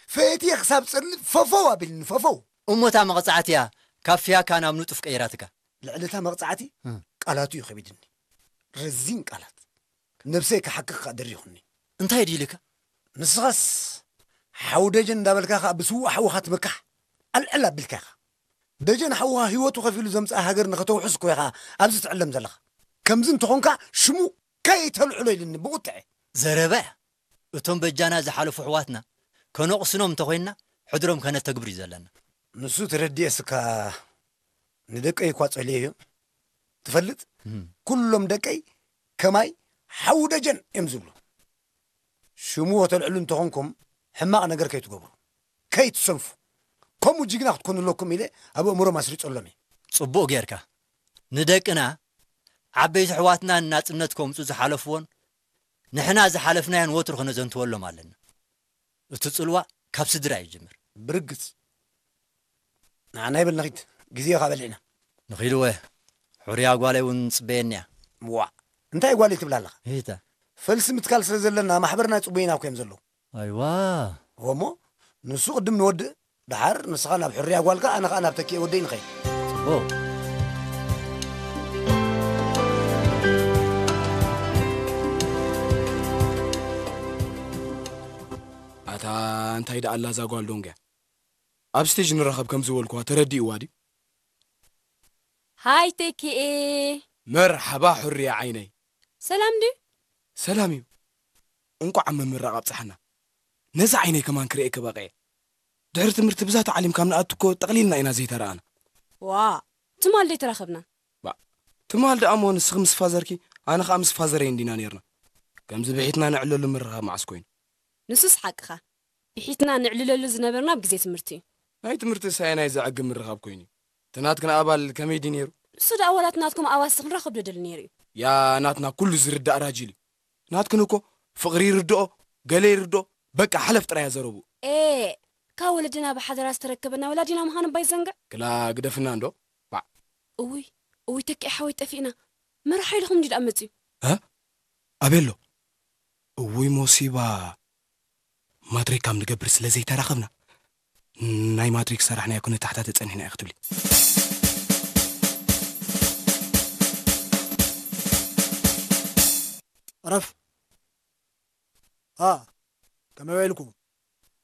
ፈየትየ ክሳብ ጸልእ ፈፈው ኣቢልኒ፣ ፈፈው። እሞ እታ መቕጻዕቲ እያ ካብ ፍያካ ናብ ንጡፍ ቀይራትካ። ልዕሊ እታ መቕጻዕቲ እም። ቃላቱ እዩ ከቢድኒ። ረዚን ቃላት። ነብሰይ ክሓክኽ ከኣ ደሪኹኒ። እንታይ ድዩ ኢልካ? ንስኻስ ሓው ደጀን እንዳበልካ ከኣ ብስዉእ ሓውኻ ትምካሕ። ኣልዕል ኣቢልካ ኢኻ። ደጀን ሓውኻ ህይወቱ ከፊሉ ዘምጽኣ ሃገር ንኸተውሕስ እኮ ኢኻ ኣብዚ ትዕለም ዘለኻ። ከምዚ እንተኾንካ ሽሙ ከይተልዕሎ ኢልኒ ብቑጥዐ። ዘረባ እያ። እቶም በጃና ዝሓለፉ ኣሕዋትና ከነቕስኖም እንተኾይንና፣ ሕድሮም ከነተግብር እዩ ዘለና። ንሱ ተረዲኤስ እካ ንደቀይ እኳ ጸልየዮ። ትፈልጥ? እም። ኩሎም ደቀይ ከማይ ሓው ደጀን እዮም ዝብሉ። ሽሙ ወተልዕሉ እንተኾንኩም ሕማቕ ነገር ከይትገብሩ፣ ከይትሰንፉ። ከምኡ ጅግና ክትኮኑ ኣለኩም ኢለ ኣብ ኣእምሮም ኣስሪጸሎም እየ። ጽቡቕ ጌርካ። ንደቅና፣ ዓበይቲ ኣሕዋትና ንናጽነት ከምጹ ዝሓለፍዎን ንሕና ዝሓለፍናዮን ወትሩ ክነዘንትወሎም ኣለና። እቲ ጽልዋ ካብ ስድራ እዩ ዝጅምር። ብርግጽ። ንዓና ይበል ንኺድ፣ ግዜ ኸኣ በሊዕና። ንኺድ ወ፣ ሕርያ ጓለይ እውን ጽበየኒ እያ። ዋእ፣ እንታይ ጓለይ ትብላ ኣለኻ? እታ። ፈልሲ ምትካል ስለ ዘለና ማሕበርና ጽቡይና እኮ እዮም ዘለዉ። ኣይዋ። እሞ ንሱ ቅድም ንወድእ፣ ደሓር ንስኻ ናብ ሕርያ ጓልካ፣ ኣነ ኸኣ ናብ ተኪኤ ወደይ ንኸይድ። ጽቡቕ። ኣታ እንታይ ደኣ ኣላ እዛ ጓል ዶንግያ? ኣብ ስቴጅ ንራኸብ ከም ዝበልኩዋ ተረዲእዋ ድዩ? ሃይ ተኪኤ። መርሓባ ሕርያ ዓይነይ። ሰላም ድዩ? ሰላም እዩ። እንቋዕ ኣብ ምምራቕ ኣብጽሓና። ነዚ ዓይነይ ከማን ክርእየኪ በቒዐ። ድሕሪ ትምህርቲ ብዛ ተዓሊም ካብ ንኣቱ እኮ ጠቕሊልና ኢና ዘይተረኣና። ዋእ፣ ትማል ደይ ተራኸብና? ባ፣ ትማል ደኣ እሞ ንስኺ ምስ ፋዘርኪ፣ ኣነ ኸኣ ምስ ፋዘረይ እንዲና ኔርና። ከምዚ ብሒትና ንዕለሉ ምርኻብ መዓስ ኮይኑ? ንሱስ ሓቅኻ። ብሒትና ንዕልለሉ ዝነበርና ኣብ ግዜ ትምህርቲ እዩ። ናይ ትምህርቲ ሳየናይ ዘዕግብ ምርኻብ ኮይኑ እዩ። እቲ ናትክን ኣባል ከመይ ድዩ ነይሩ? ንሱ ደኣ ዋላ እቲ ናትኩም ኣባልሲ ክንረኽብ ዶ ደሊ ነይሩ እዩ? ያ ናትና ኩሉ ዝርዳእ ራጂል እዩ። ናትክን እኮ ፍቕሪ ይርድኦ፣ ገለ ይርድኦ፣ በቃ ሓለፍ ጥራይ እያ ዘረብኡ። ኤ፣ ካብ ወለድና ብሓደራ ዝተረከበና ወላዲና ምዃኑ እባ ይዘንግዕ። ክላ ግደፍና እንዶ፣ ባዕ። እውይ፣ እውይ ተኪኤ ሓወይ ጠፊእና። መርሓ ኢልኹም እንዲ ደኣ መጽዩ። እ? ኣበይ ኣሎ? እውይ ሞሲባ። ማትሪክ ካብ ንገብር ስለ ዘይተራኸብና፣ ናይ ማትሪክ ሰራሕናዮ ክንተሓታተ ጸኒሕና እዩ ክትብሊ። ዕረፍ። ሃ፣ ከመይ ውዒልኩም?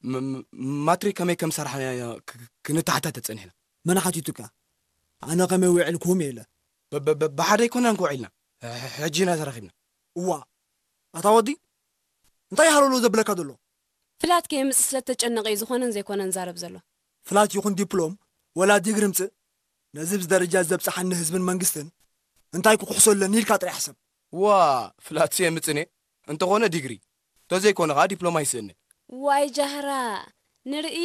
ም-፣ ም-፣ ማትሪክ ከመይ ከም ሰራሕናዮ ክ-፣ ክ-፣ ክንተሓታተ ጸኒሕና። መን ሓቲቱካ? ኣነ ከመይ ውዒልኩም ኢለ። ብ-፣ ብ-፣ ብ-፣ ብሓደ ኣይኮናን ክውዒልና። ሕ-፣ ሕ-፣ ሕጂ ኢና ተራኺብና። እዋ፣ ኣታ ወዲ፣ እንታይ ሃለሎ ዘብለካ ዘሎ? ፍላት ከየምጽእ ስለ እተጨነቐ እዩ ዝኾነን ዘይኮነን ዛረብ ዘሎ። ፍላት ይኹን ዲፕሎም፣ ወላ ዲግሪ ምጽእ፣ ነዚ ኣብዚ ደረጃ ዘብጽሓኒ ህዝብን መንግስትን እንታይ ክኩሕሶ ኣለኒ ኢልካ ጥራይ ሕሰብ። ዋ፣ ፍላትሲ የምጽእኔ፣ እንተኾነ ዲግሪ፣ እንተዘይኮነ ኸኣ ዲፕሎማ ይስእኒ። ዋይ ጃህራ፣ ንርኢ።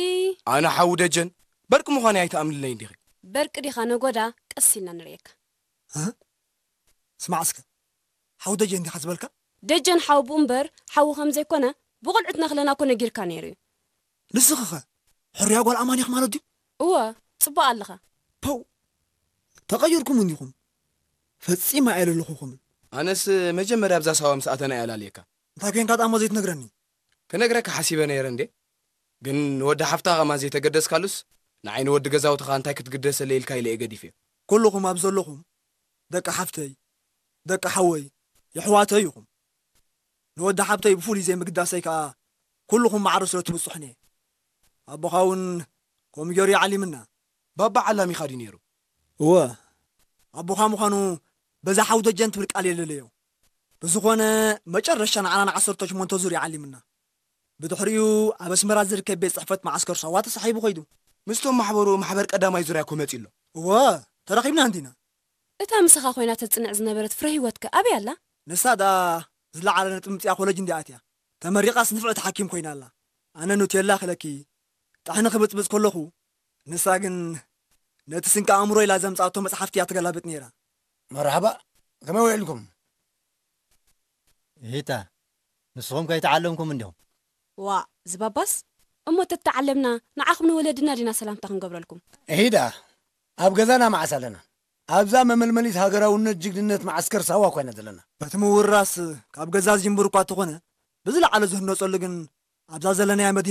ኣነ ሓዊ ደጀን፣ በርቂ ምዃነይ ኣይትኣምንለይን ዲኺ? በርቂ ዲኻ ነጎዳ፣ ቀስ ኢልና ንርእየካ። እ? ስማዕ እስከ፣ ሓው ደጀን ዲኻ ዝበልካ? ደጀን ሓውብኡ እምበር ሓዉ ከም ዘይኮነ ብቑልዕትና ክለና እኮ ነጊርካ ነይሩ እዩ። ንስኺኸ ሕሩያ ጓል ኣማን ኢኺ ማለት ድዩ? እወ፣ ጽቡቕ ኣለኻ። ፖው! ተቐይርኩም እንዲኹም። ፈጺመ ኣየለለኹኹምን። ኣነስ መጀመርያ ኣብዛ ሳዋ ምስ ኣተና እየ ኣላልየካ። እንታይ ኮይንካ ደኣ እሞ ዘይትነግረኒ? ክነግረካ ሓሲበ ነይረ እንዴ። ግን ንወዲ ሓፍታ ከማን ዘይተገደስካሉስ፣ ንዓይ ንወዲ ገዛውትኻ እንታይ ክትግደሰለይ ኢልካ ኢለ እየ ገዲፈዮ። ኩልኹም ኣብ ዘለኹም ደቂ ሓፍተይ፣ ደቂ ሓወይ፣ የሕዋተይ ኢኹም። ንወዲ ሓብተይ ብፍሉይ ዘይምግዳሰይ ከኣ ኩልኹም ማዕረ ስለ ትብጽሑኒ እየ። ኣቦኻ እውን ከምኡ ገይሩ ይዓሊምና። ባባ ዓላሚኻ ድዩ ነይሩ? እወ፣ ኣቦኻ ምዃኑ በዛ ሓው ደጀን ትብል ቃል የለለዮ። ብዝኾነ መጨረሻ ንዓና ንዓሰርተ ሸሞንተ ዙር ይዓሊምና። ብድሕሪኡ ኣብ ኣስመራ ዝርከብ ቤት ጽሕፈት መዓስከር ሳዋ ተሳሒቡ ኸይዱ። ምስቶም ማሕበሩ ማሕበር ቀዳማይ ዙርያ እኮ መጺኡ ኣሎ። እወ፣ ተራኺብና እንዲና። እታ ምሳኻ ኮይና ተጽንዕ ዝነበረት ፍረ ህይወትከ ኣበይ ኣላ? ንሳ ደኣ ዝለዓለ ነጥቢ ምጽያ ኮለጅ እንዲኣ ኣትያ። ተመሪቓስ ንፍዕቲ ሓኪም ኮይና ኣላ። ኣነ ኑቴላ ክለኪ ጥሕኒ ክብጽብጽ ከለኹ፣ ንሳ ግን ነቲ ስንቂ ኣእምሮ ኢላ ዘምጽኣቶ መጽሓፍቲ እያ ትገላብጥ ነይራ። መርሓባ፣ ከመይ ውዒልኩም? እሂታ፣ ንስኹም ከይተዓለምኩም እንዲኹም? ዋእ፣ ዝባባስ? እሞ ተተዓለምና፣ ንዓኹም ንወለድና ዲና ሰላምታ ክንገብረልኩም? እሂዳ፣ ኣብ ገዛና መዓስ ኣለና? ኣብዛ መመልመሊት ሃገራውነት ጅግንነት መዓስከር ሳዋ እኳ ኢና ዘለና። እቲ ምውርራስ ካብ ገዛ ዝጅምር እኳ እንተኾነ፣ ብዝለዓለ ዝህነጸሉ ግን ኣብዛ ዘለናያ መዲና